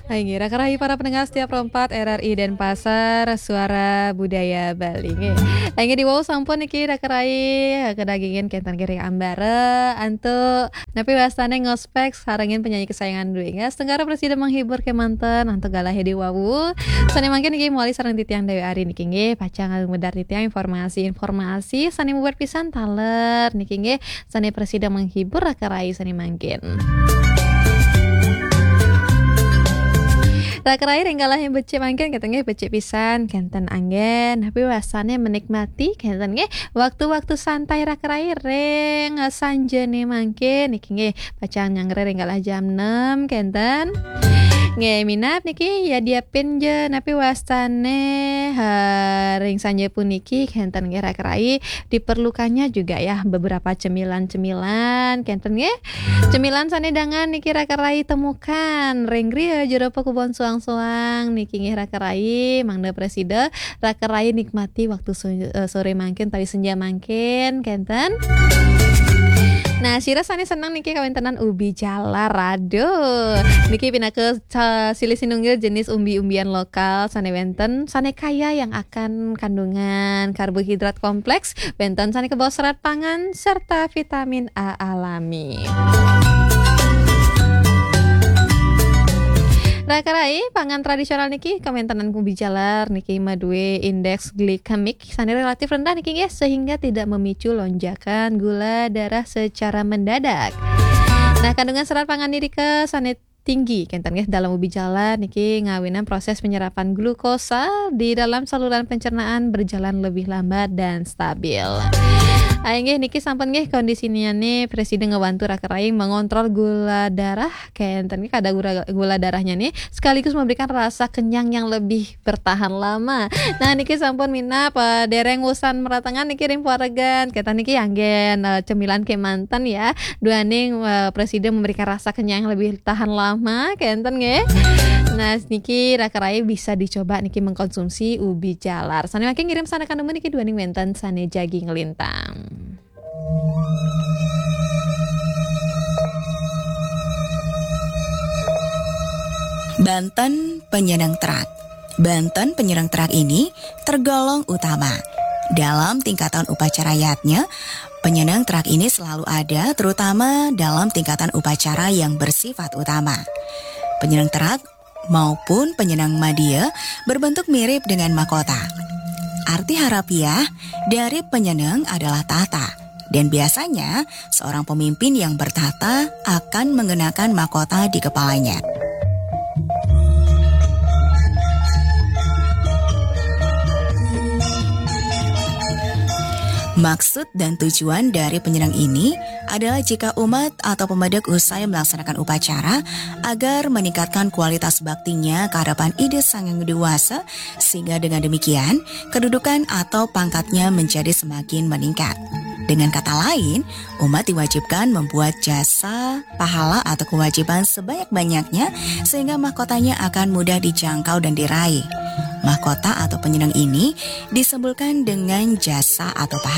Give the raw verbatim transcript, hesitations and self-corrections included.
Inggih, raka rayi para pendengar setia Pro empat R R I Denpasar, Suara Budaya Bali. Inggih. Inggih, diwau sampun niki raka rayi, eh, kedagingan kenten nggih ring ambara, antuk napi wastane ngospek sarengin penyanyi kesayangan duwe. Inggih, setengkara prasida menghibur kemanten, antuk galahe diwau. Sane mangkin niki mawali sareng titiang Dewi Ari niki nggih, pacang lumedar titiang informasi-informasi sane mabuat pisan taler niki nggih, sane prasida menghibur raka rayi sane mangkin. Raka rayi ring galahe becik mangkin kenten nggih, becik pisan kenten anggen. Napi wastane menikmati kenten nggih waktu-waktu santai raka rayi ring, eh, sanjane mangkin niki nggih, pacang nyanggra ring galah jam enam kenten. Nggih, minab niki ya diapin ja napi wastane, ha, ring sanja puniki kenten nggih raka rayi. Diperlukannya juga ya beberapa cemilan-cemilan kenten nggih. Cemilan sane dangan niki raka rayi temukan ring griya jero pakubon suang-suang niki nggih raka rayi, mangda prasida raka rayi nikmati waktu so-, eh, sore mangkin utawi senja mangkin kenten. Nah, sira sane seneng niki kawentenan ubi jalar. Aduh, niki pinaka sa-, silih sinunggil jenis umbi-umbian lokal sane wenten, sane kaya yang akan kandungan karbohidrat kompleks, wenten sane kebaos serat pangan serta vitamin A alami. Raka rayi, pangan tradisional niki kawentenan ubi jalar niki madue indeks glikemik sane relatif rendah niki nggih, sehingga tidak memicu lonjakan gula darah secara mendadak. Nah, kandungan serat pangan nirika sane tinggi kenten nggih dalam ubi jalar niki ngawinang proses penyerapan glukosa di dalam saluran pencernaan berjalan lebih lambat dan stabil. Ah, inggih niki sampun nggih kondisinyane prasida ngebantu raka rayi mengontrol gula darah kenten nggih, kadar gula, gula darahnya nih sekaligus memberikan rasa kenyang yang lebih bertahan lama. Nah, niki sampun minab, eh, dereng wusan meratengan niki ring paregan. Kenten niki anggen, eh, cemilan kemanten ya. Duaning, eh, prasida memberikan rasa kenyang lebih tahan lama, kenten nggih. Nah, niki raka rayi bisa dicoba niki mengkonsumsi ubi jalar. Sane mangkin ngirim sané kanemu niki duaning wénten sané jagi nglintang. Banten Penyeneng Terak. Banten Penyeneng Terak ini tergolong utama. Dalam tingkatan upacara yadnya, penyeneng terak ini selalu ada, terutama dalam tingkatan upacara yang bersifat utama. Penyeneng terak maupun penyeneng madia berbentuk mirip dengan mahkota. Arti harafiah dari penyeneng adalah tahta, dan biasanya seorang pemimpin yang bertahta akan mengenakan mahkota di kepalanya. Maksud dan tujuan dari penyeneng ini adalah jika umat atau pemedek usai melaksanakan upacara agar meningkatkan kualitas baktinya ke hadapan Ida Sang Hyang Widhi Wasa, sehingga dengan demikian kedudukan atau pangkatnya menjadi semakin meningkat. Dengan kata lain, umat diwajibkan membuat jasa pahala atau kewajiban sebanyak-banyaknya sehingga mahkotanya akan mudah dijangkau dan diraih. Mahkota atau penyeneng ini disebutkan dengan jasa atau pahala.